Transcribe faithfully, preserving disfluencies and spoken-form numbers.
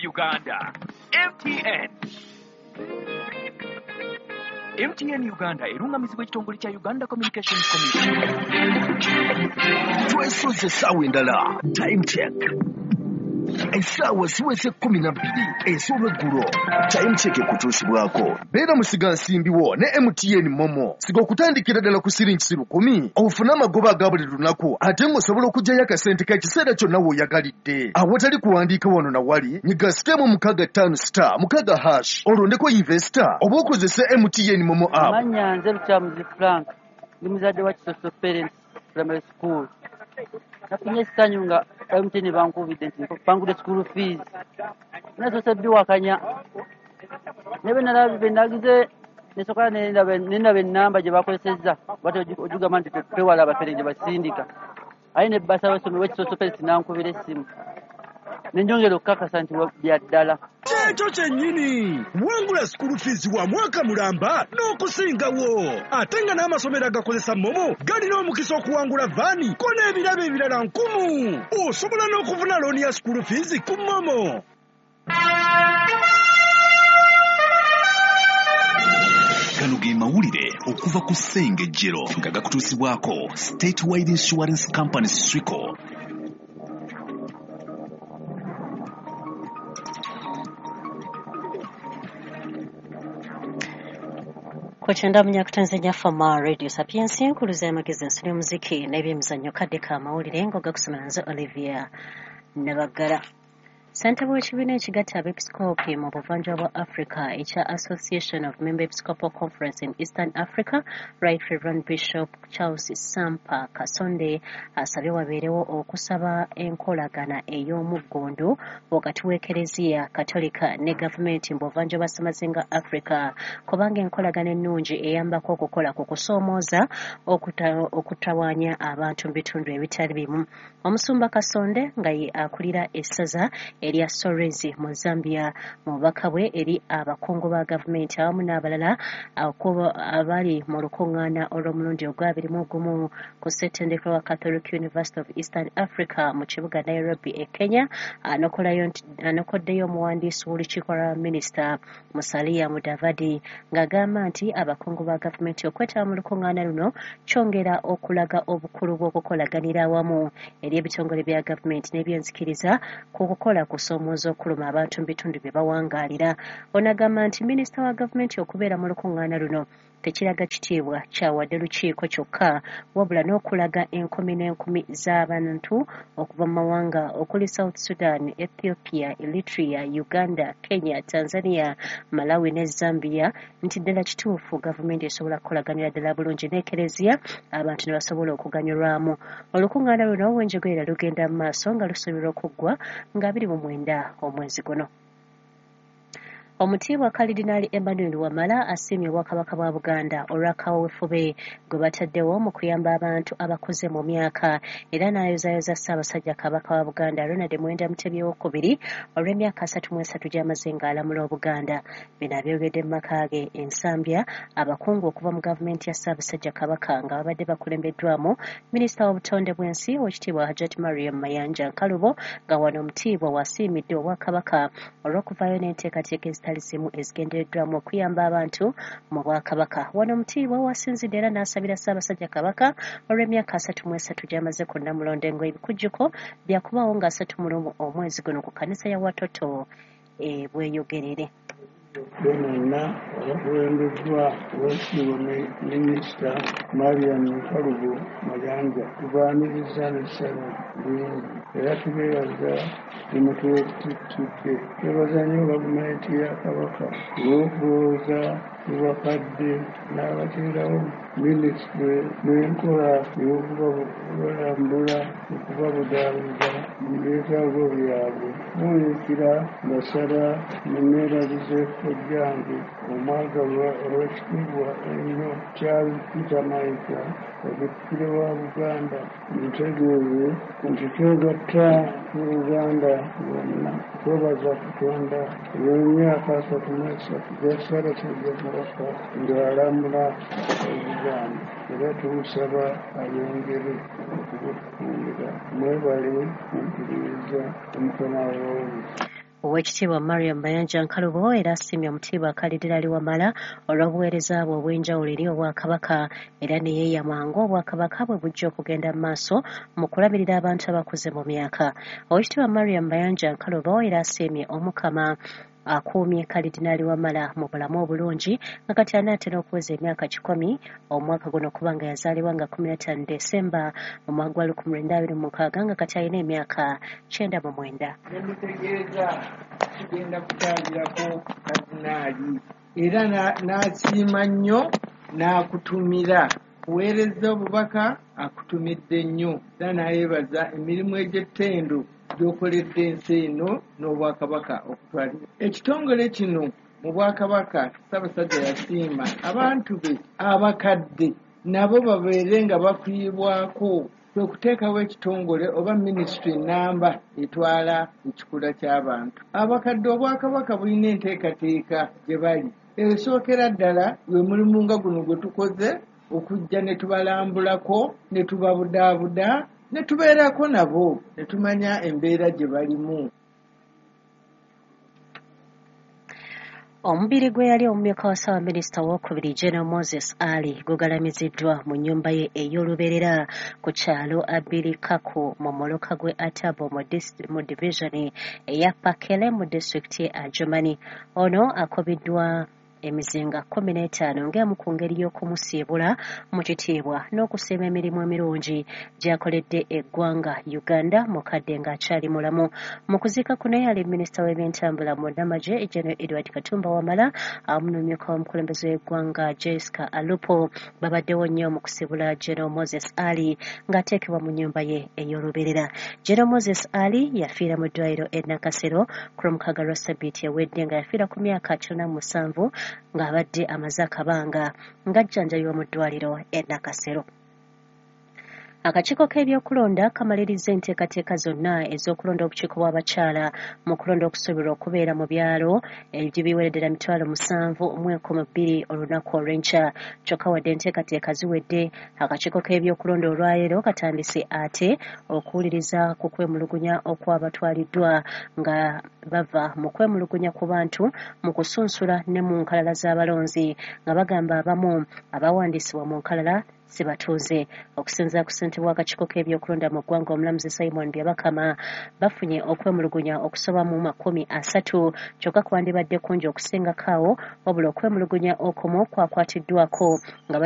Uganda. M T N. M T N Uganda erungamizibwa ekitongole kya Uganda Communications Commission. Twesoze essaawa endala. Time check. Essaawa ziweze kkumi na bbiri ez'olweggulo. Time check ekutuusibwako. Beera musigansimbi wo ne M T N Momo. Siga okutandikira ddala ku siringi lukumi ofune amagoba aga buli lunaku ate ng'osobola okuggyayo akasente k'ekiseera kyonna w'oyagalidde. Awatali kuwandiika wano na wali, nyiga star mukaaga ttaano star mukaaga hash olondeko investor oba okozese M T N Momo app. Mannya nze Lukyamuzi Frank, ndi muzadde wa Kisoso Parents Primary School. Nafunye essanyu nga M T N bankubidde nti bangudde school fees. Nasoose biwakanya. Ne bwe nalabye bwe nagize nesooka ne ndaba ennamba gye bakozesezza bw'atyo ogigamba nti twewala abafere gye basindika. Aye ne bbasa w'essomero w'Ekisoso Parents n'ankubira essimu. Ne njongera okukakasa nti bya ddala. Kyekyo kyennyini wangula school fees wa mwaka mulamba n'okusingawo, ate nga n'amasomero agakozesa Momo galina omukisa okuwangula vaani ko n'ebirabo ebirala nkumu. Osobola n'okufuna looni ya school fees ku Momo. Gano ge mawulire okuva ku Ssengejjero nga gakutuusibwako Statewide Insurance Company Swico. Kochenda munyakutanzanya Fama Radio Sapiens nkuluza y'amagezi ensi n'omuziki n'ebyemizannyo kadde ka mawulire ng'ogakusomera nze Olivia Nabagala. Ssentebe w'ekibiina ekigatta abeepisikoopi mu buvanjuba bwa Africa ekya Association of Member Episcopal Conference in Eastern Africa, Right Reverend Bishop Charles Sampa Kasonde asabye wabeerewo okusaba enkolagana ey'omuggundu wakati w'Ekereziya Katolika ne gavumenti mu buvanjuba bwa Ssemazinga Africa, kubanga enkolagana ennungi eyambako okukola ku kusoomooza okutawaanya abantu mu bitundu ebitali bimu. Omusumba Kasonde nga ye akulira essaza erya Solwezi mu Zambia mu bubaka bwe eri abakungu ba gavumenti awamu n'abalala abali mu lukuŋŋaana olw'omulundi ogw'abiri mu gumu ku ssettendekero wa Catholic University of Eastern Africa mu kibuga Nairobi e Kenya, anokoddeyo omuwandiisi w'olukiiko lwa minisita Musalia Mudavadi ng'agamba nti abakungu ba gavumenti okwetaba mu lukuŋŋaana luno kyongera okulaga obukulu bw'okukolaganira awamu eri ebitongole bya gavumenti n'ebyenzikiriza ku kukola kusoomooza okuluma abantu mu bitundu bye bawangaalira. Ono agamba nti minisita wa gavumenti okubeera mu lukuŋŋaana luno tekiraga kitiibwa kyawadde lukiiko kyokka, wabula n'okulaga enkumi n'enkumi z'abantu okuva mu mawanga okuli South Sudan, Ethiopia, Eritrea, Uganda, Kenya, Tanzania, Malawi ne Zambia nti ddala kituufu gavumenti esobola kukolaganira ddala bulungi n'Ekereziya abantu ne basobola okuganyulwamu. Olukuŋŋaana luno wenjogerera lugenda mu maaso nga lusuubirwa okuggwa nga abiri mu mwenda omwezi guno. Omutiibwa Kalidinaali Emmanuel Wamala asiimye Obwakabaka bwa Buganda olwa kaweefube gwe bataddewo mu kuyamba abantu abakuze mu myaka, era n'ayozaayoza Ssaabasajja Kabaka wa Buganda Ronald Muwenda Mutebi owookubiri olw'emyaka asatu mu esatu gy'amaze ng'alamula Obuganda. Bino abyogedde mu maka ge e Nsambya abakungu okuva mu gavumenti ya Ssaabasajja Kabaka nga babadde bakulembeddwamu Minisita w'obutonde bw'ensi Oweekitiibwa Hajjat Mariam Mayanja Nkalubo, nga wano Omutiibwa wasiimidde Obwakabaka olw'okuvaayo n'enteekateeka ezitali zimu ezigendereddwamu okuyamba abantu mu Bwakabaka. Wano Omutiibwa wasinzidde era n'asabira Ssaabasajja Kabaka olw'emyaka asatu mu esatu gy'amaze ku Nnamulondo ng'ebikujjuko byakubaawo nga asatu mu lumu omwezi guno ku kkanisa ya Watoto e Bweyogerere. Bonna abakulembeddwa Oweekitiibwa Minisita Mariam Nkalubo Mayanja tubaaniriza n'essanyu lingi era tubeebaza gye mutututte. Twebaza nnyo gavumenti ya Kabaka olw'okulowooza ku bakadde n'abateerawo minisitule n'enkola ey'okubalambula okubabudaabuda mu byetaago byabwe. Buunikira mbasaba munneebazize kojjange omwagalwa ow'ekitiibwa ennyo Charles Peter Mayiga, Katikkiro wa Buganda, mutegeeze nti twegatta ku Buganda lwonna twebaza Katonda olw'emyaka asatu mu esatu gya Ssaabasajja Kabaka ng'alamula Obuganda, era tumusaba ayongere okubutukuumira. Mwebale kumpuliriza, Omukama w'obuyinza. Oweekitiibwa Mariam Mayanja Nkalubo era asiimye Omutiibwa Kalidinaali Wamala olw'obuweereza bwe obw'enjawulo eri Obwakabaka, era ne yeeyama ng'Obwakabaka bwe bujja okugenda mu maaso mu kulabirira abantu abakuze mu myaka. Oweekitiibwa Mariam Mayanja Nkalubo era asiimye Omukama akuumye Kalidinaali Wamala mu bulamu obulungi nga kati anaatera okuweza emyaka kikumi omwaka guno, kubanga yazaalibwa nga kkumi na ttaano Desemba mu mwaka gwa lukumi lwenda abiri mu mukaaga nga kati alina emyaka kyenda mu mwenda. Nemutegeeza kigenda kutangirako Kalidinaali era n'asiima nnyo n'akutumira kuweereza obubaka, akutumidde nnyo era n'ayeebaza emirimu egy'ettendo gy'okoledde ensi eno n'Obwakabaka okutwalira. Ekitongole kino mu Bwakabaka Ssaabasajja yasiima abantu be abakadde nabo babeere nga bafiibwako, kwe kuteekawo ekitongole oba minisitule ennamba etwala ekikula ky'abantu. Abakadde Obwakabaka bulina enteekateeka gye bali. Esookera ddala gwe mulimu nga guno gwe tukoze okujja ne tubalambulako ne tubabudaabuda ne tubeerako nabo ne tumanya embeera gye balimu. Omubiri gwe yali omumyuka wa Ssaabaminisita owookubiri General Moses Ali gugalamiziddwa mu nnyumba ye ey'olubeerera ku kyalo Abirikaku mu muluka gw'e Atabo mu divizoni eya Pakele mu disitulikiti ye Adjumani. Ono akubiddwa emizinga kkumi n'etaano ng'emu ku ngeri y'okumusiibula mu kitiibwa n'okusiima emirimu emirungi gy'akoledde eggwanga Uganda mu kadde ng'akyali mulamu. Mu kuziika kuno yali minisita w'ebyentambula munnamagye General Edward Katumba Wamala awamu n'omumyuka w'omukulembeze w'eggwanga Jessica Alupo babaddewo nnyo mu kusiibula General Moses Ali ng'ateekebwa mu nnyumba ye ey'olubeerera. General Moses Ali yafiira mu ddwaliro e Nakasero ku lwomukaaga lwa ssabbiiti ewedde nga yafiira ku myaka kyenda mu musanvu ng'abadde amaze akabanga ng'ajjanjabibwa mu ddwaliro e Nakasero. Akakiiko k'ebyokulonda kamaliriza enteekateeka zonna ez'okulonda obukiiko bw'abakyala mu kulonda okusuubirwa okubeera mu byalo ebiweredera mitwalo musanvu mu enkumi bbiri olunaku olw'enkya. Kyokka wadde enteekateeka ziwedde, akakiiko k'ebyokulonda olwaleero katandise ate okuwuliriza ku kwemulugunya okwabatwaliddwa nga bava mu kwemulugunya ku bantu mu kusunsula ne mu nkalala z'abalonzi nga bagamba abamu abawandiisibwa mu nkalala si batuuze. Okusinziira ku ssentebe w'akakiiko k'ebyokulonda mu ggwanga omulamuzi Simon Byabakama, bafunye okwemulugunya okusoba mu makumi asatu kyokka kwandibadde kungi okusingako awo, wabula okwemulugunya okumu kwakwatiddwako nga